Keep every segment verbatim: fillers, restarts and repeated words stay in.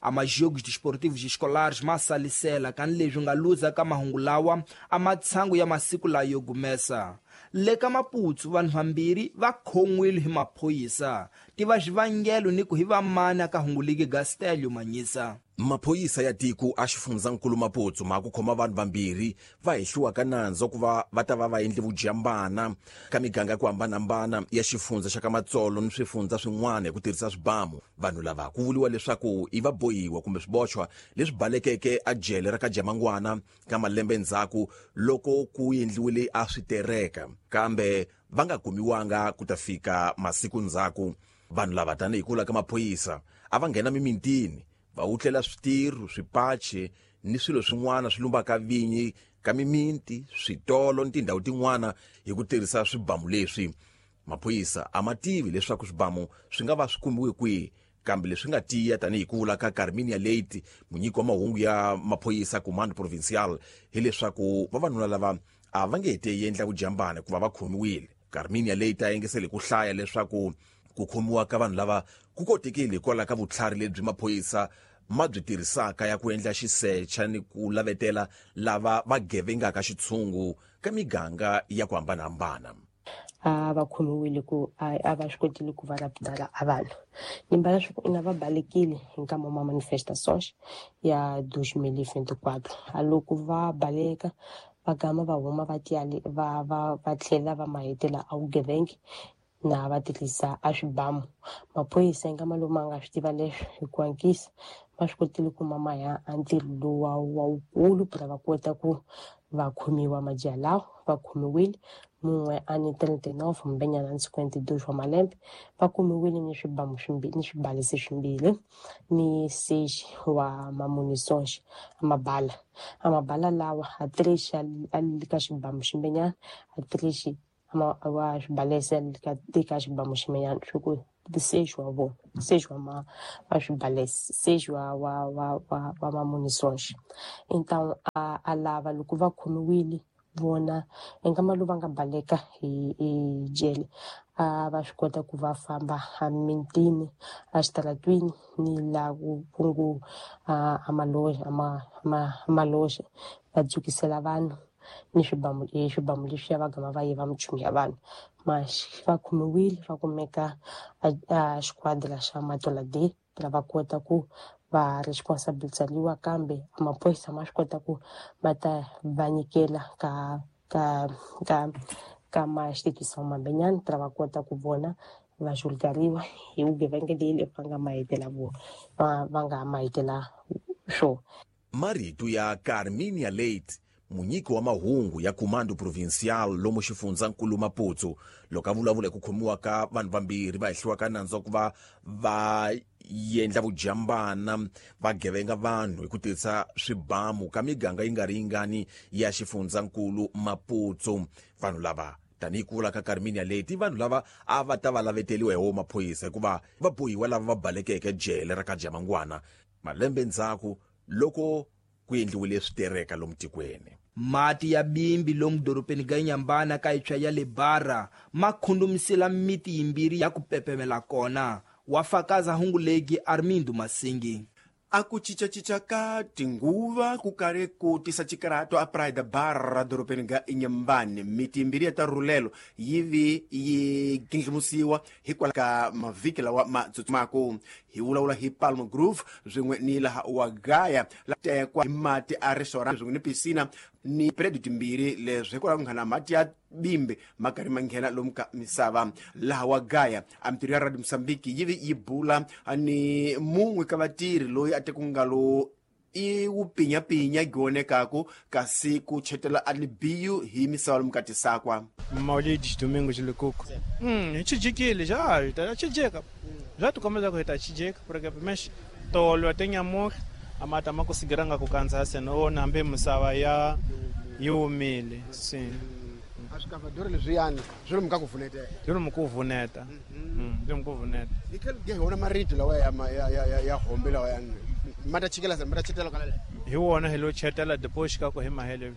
A majogos desportivos escolares masalisela kan leswi nga luza ka mahungu lawa a matshangu ya masiku layo gumesa. Le ka Maputo vanhu vambirhi va khon'wile hi maphorisa tiva xivangelo ni ku hi vamana ka hunguliki Gastelio Manyisa. Maphorisa ya tiko a xifundzankulu Maputo ma ku khoma vanhu vambirhi va hehliwa ka nandzu ku va va ta va va endle vujambana ka miganga ya ku hambanahambana ya xifundza xa ka Matsolo ni swifundza swin'wana hi ku tirhisa swibamu. Vanhu lava ku vuriwa leswaku i vabohiwa kumbe swiboxwa leswi balekeke a jele ra ka Jamangwana ka malembe ndzhaku loko ku endliwile a switereka, kambe va nga kumiwanga ku ta fika masiku ndzhaku. Vanhu lava tanihi kula ka maphorisa a va nghena mimintini va wutlela switirho, swipache ni swilo swin'wana swi lumbaka vinyi ka miminti, switolo ni tindhawu tin'wana hi ku tirhisa swibamu leswi. Maphorisa a ma tivi leswaku swibamu swi nga va swi kumiwe kwihi, kambe leswi nga tiya tanihi ku vula ka Carminia Leite, munyiki wa mahungu ya maphorisa Comando Provincial, hileswaku vavanuna lava a va nge te endla vujambana ku va va khomiwile. Carminia Leite a yengesele ku hlaya leswaku ku khomiwa ka vanhu lava ku kotekile hikwalaho ka vutlhari lebyi maphorisa ma byi tirhisaka ya ku endla xisecha ni ku lavetela lava va gevengaka xitshungu ka miganga ya ku hambanahambana. A va khomiwile ku a va swi kotile ku va raptala a vanhu nimbala swi ina va balekile hi nkama wa manifestações ya dois mil e vinte e quatro. A loko va baleka va gama va huma va tiyali va va va tlhela va mahetela a vugevenga na va tirhisa a swibamu. Maphorisa nkama lowu ma nga swi tiva leswi hi ku hatlisa va swi kotile ku ma ya a ntirho lowu wa wa wukulu ku va kota ku va khomiwa majaha lawa. Va khomiwile mun'we a ni trinta e nove mbenyana ni cinquenta e dois wa malembe, va kumiwile ni swibamu swimbirhi ni swibalesi swimbirhi ni seis wa mamunições a mabala. A mabala lawa a três a li ka xibamu ximbenyana, a três wa swibalesi ka eka xibamu ximbenyana swi ku seis wa vona, seis wa ma wa swibalesi, seis wa wa wa wa wa mamunições. Então a a lava loko va khomiwile vona nkama lowu va nga baleka hi hi jele a va swi kota ku va famba a mintini a xitaratwini ni laha ku ku ngo a maloja a ma maloja va dzukisela vanhu ni swibamu swibamu leswiya va gama va yiva minchumu ya vanhu. Mas va khomiwile va kumeka a xiquadra xa Matola D va kota ku va responsabilizariwa, kambe maphorisa ma swi kota ku va ta va nyikela ka ka ka ka ma instituição mambenyana ta va kota ku vona va julgariwa hi vugevenga leyi va nga mahetela vo va va nga mahetela swo. Marito ya Carminia Leite, munyiki wa mahungu ya Comando Provincial lomu xifundzankulu Maputo, loko a vulavula hi ku khomiwa ka vanhu vambirhi va hehliwa ka nandzu wa ku va va endla vujambana va gevenga vanhu hi ku tirhisa swibamu ka miganga yi nga ri yingani ya xifundzankulu Maputo. Vanhu lava tanihi ku vula ka Carminia Leite, vanhu lava a va ta va laveteliwa hi wo maphorisa hikuva va bohiwa lava va balekeke jele ra ka Jamangwana malembe ndzhaku loko ku endliwile switereka lomu tikweni. Mati ya bimbi lomu dorobeni ga Inhambane ka itshwa ya le Barra ma khundumisela miti yimbirhi ya ku pepemela kona. Wa fakaza hungu legi Armindo Masingi. A ku cincacinca ka tinguva ku karhi ku tisa xikarato a Praia da Barra dorobeni ga Inhambane. Miti yimbirhi ya ta rhulelo yi vi yi gindlimusiwa hikwalaho ka mavhiki lawa ma tsutsumaku. Hi vulavula hi Palm Grove swin'we ni laha wa Gaya la tekwa hi mati a restaurant swin'we ni piscina ni predio timbirhi leswi hikwalaho ku nghena mati ya bimbi ma karhi ma nghena lomu ka misava. Laha wa Gaya a mintirho ya Radio Mozambique yi vi yi bula ni mun'we ka vatirhi loyi a teku ngalo i wu pinyapinya gionekaku kasi ku chetela a libiyu hi misava lomu ka tisakwa. Maulides Domingos Lukuku. Hum, chijikile já, tá chijeka. Já tu começa com tá chijeka, porque mas tolo tem amor, a mata ma kusigiranga kukanza seno nambe musava ya yumile, sim. A swikavadori leswiyani swi lomu ka ku vuneta. Swi lomu ku vuneta. Mm, swi lomu ku vuneta. Hi tlhela hi vona marito lawa ya ya ya ya hombe lawa ya ma ta chikela ma ta chetela kana. Hi wona hi lo chetela depois ka ku hi mahele.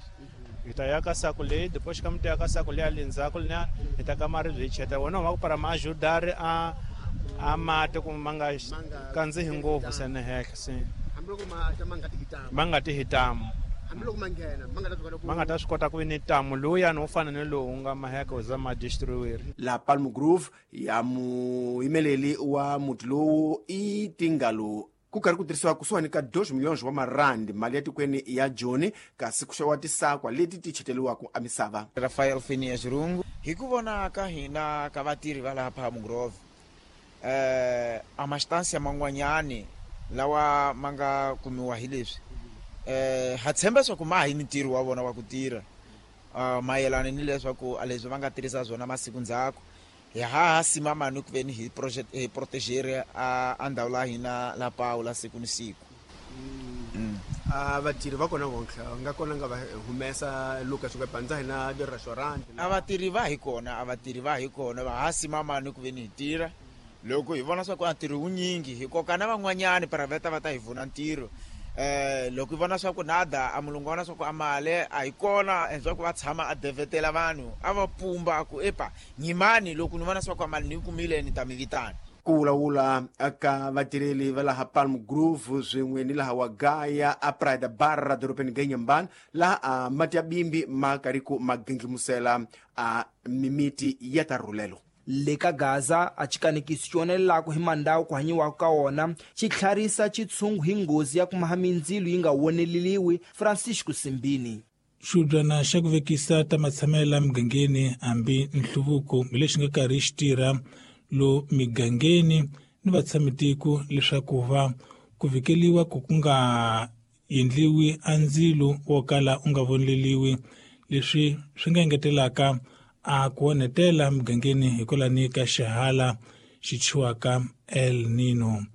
Hi ta ya ka saku leyi depois ka miti ya ka saku leyi le ndzhaku na hi ta ka maribye hi chetela wona wa ku para ma ajudar a A mati ku ma nga kandzihi ngopfu sene henhla se. Hambiloko ma ta ma nga tiki tamu. Ma nga tihi tamu. Hambiloko ma nghena ma nga ta swi kota ku ma nga ta swi kota ku ni tamu lowuyani wo fana ni lowu nga maheka wu za ma destroyer. La Palm Grove ya muyimeleli wa muti lowu i tingalo ku karhi ku tirhisiwa kusuhani ka dois milhões wa marandi mali ya tikweni ya Joni kasi ku xaviwa tisakwa leti ti cheteriwaka emisava. Rafael Phineas Rungu hi ku vona ka hina ka vatirhi va laha Palm Grove eh a mastância man'wanyani lawa ma nga kumiwa hi leswi eh ha tshemba swa ku ma hi ntirho wa vona wa ku tirha uh, mayelana ni leswaku a leswi va nga tirhisa swona masiku ndzhaku hi ha ha simama ni ku veni hi project hi proteger a a ndhawu la hina la Paula siku ni siku. Mm. A vatirhi va kona vontlha nga kona nga va humesa Lucas ku pandza hina di restaurant. A vatirhi va hi kona a vatirhi va hi kona va ha simama ni ku veni hi tirha loko hi vona swa ku a ntirho wunyingi hi koka na van'wanyani private va ta hi vuna ntirho eh loko hi vona swa ku nada a mulungu vona swa ku amale a hi kona endzhaku va tshama a devetela vanhu a va pumba ku epa nyimani loko ni vona swa ku amale ni kumile ni ta mi vitana. Ku vulavula ka vatirheli va laha Palm Grove swin'we ni laha Wagaya a Praia Barra dorobeni ga Inhambane laha a mati ya bimbi ma karhi ku ma ginglimusela a mimiti ya ta rhulelo. Le ka Gaza a xikanekisi xi onelelaka hi mandawu ku hanyiwaka ka wona xi tlharisa xitshungu hi nghozi ya ku maha mindzilo yi nga woneleliwi. Francisco Simbini. Xibyana xa ku vekisa ta matshamelo la migangeni hambi nhluvuko hi lexi nga karhi xi tirha lo migangeni ni vatshamitiko leswaku va ku vikeliwa ku ku nga endliwi a ndzilo wo kala u nga voneleliwi leswi swi nga engetelaka a ku onhetela migangeni hikwalani ka xihala xi thyiwaka El Nino.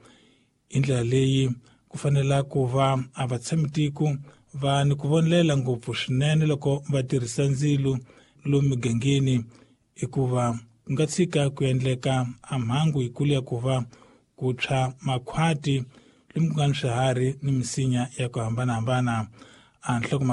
Hi ndlela leyi ku fanela ku va a vatshamitiko va ni ku vonelela ngopfu swinene loko va tirhisa ndzilo lomu migangeni hikuva ku nga tshika ku endleka a mhangu yikulu ya ku va ku tshwa makhwati lomu ku nga ni swiharhi ni misinya ya ku hambanahambana. A nhloko